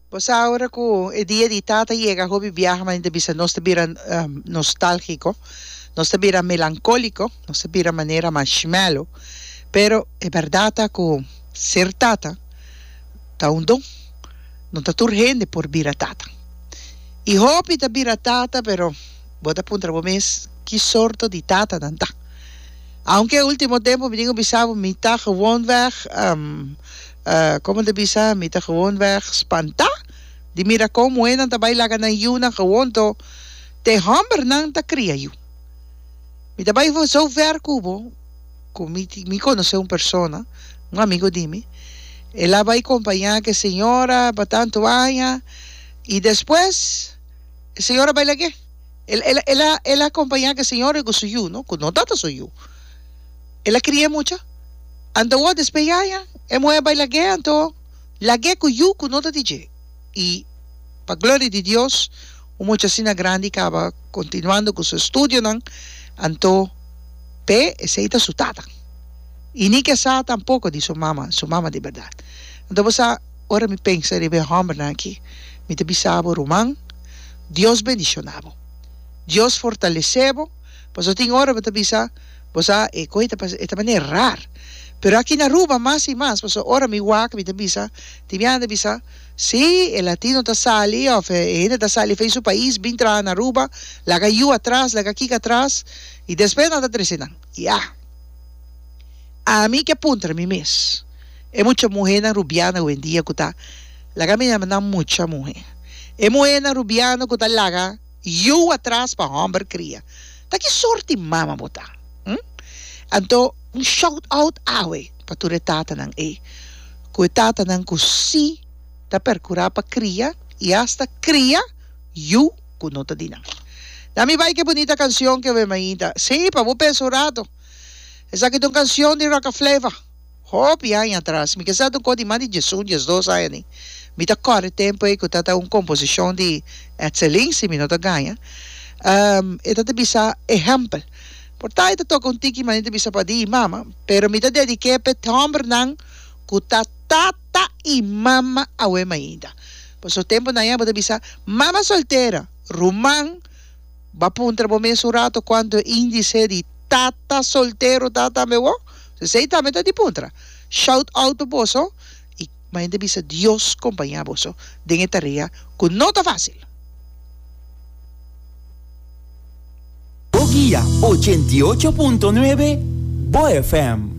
Bo sa ora ku e dia di tata yega hopi biaha manera ta bisa nos ta bira nostalgiko, nos ta bira melankoliko, nos ta bira manera marshmallow, pero e bèrdat ta ku ser tata ta un don, no ta tur hende por bira tata. I hopi ta bira tata pero bo ta puntra bo mes ki sorto di tata nan ta. Aunke e ultimo tempu mi tin ku bisa bo mi ta gewoonweg Como ta bisa, mi ta gewoonweg spantá di mira con muhénan ta bai laga nan yunan gewoon to te hòmbernan ta kria yu. Mi ta bai zo ver ku bo ku mi mi konosé un persona, un amigo di mi, el a bai kompañá ku e señora pa tantu aña i despues e señora bai lag'é. El el el a el a kompañá ku e señora i ku su yu, no, ku no tabata su yu. El a kria mucha. Anto awor despues ya e muher bai lag'é, anto lag'é ku yu ku no ta di dje. I pa gloria di Dios, un mucha asina grandi kaba kontinuando ku su estudionan, anto p'e esei ta su tata. I ni ke sa tampoko di su mama, su mama di bèrdat. Anto bo sa, ora mi pensa riba e hòmbernan aki, mi ta bisa bo, ruman, Dios bendishoná bo. Dios fortalesé bo, pasobra tin ora bo ta bisa, Bo sa, e koe ta pasa, e ta manera rar. Pero aki na Aruba mas i mas, pasobra ora mi wak mi ta bisa, tin biaha ta bisa, si, e latino ta sali of e hende ta sali fei su pais bin traha na Aruba, laga yu atras, laga kiko atras, i despues nan ta trese nan. Ya. Ami ke puntra mi mes, e mucha muhénan rubiano awendia ku ta, laga mi yama nan mucha muhé, e muhénan rubiano ku ta laga Yu atras pa homber cria. Ta ki sorti mama bo ta? Hm? Anto un shout out awe pa tur e tatanan ey. Cu e tatanan cu si ta percura pa cria y hasta cria yu cu no ta di nan. Na mi bay ke bunita cancion ke we mainta. Si, pa bo pensa un rato. Esaki ta un cancion di Rocka Flava. Hopi aña atras, mi ke sa ta un kos di mas di diesun, diesdos aña ni. Mi ta kòrda e tempu ei ku ta ta un komposishon di Etzelin, si mi no ta gaña. E ta ta bisa ehèmpel. Por ta e ta toka un tiki manera ta bisa pa di i mama, pero mi ta dedik'é p'e hòmbernan ku ta tata i mama awe mainda. Pasobra tempunan ya bo ta bisa, mama soltera, ruman. Ba puntra bo mes un rato cuanto e indice di tata soltero ta tambe wo? Esey tambe ta di puntra. Shout out pa boso y mañana ta bisa Dios compaña boso den e tarea cu no ta facil. Bo guia 88.9 Bo FM.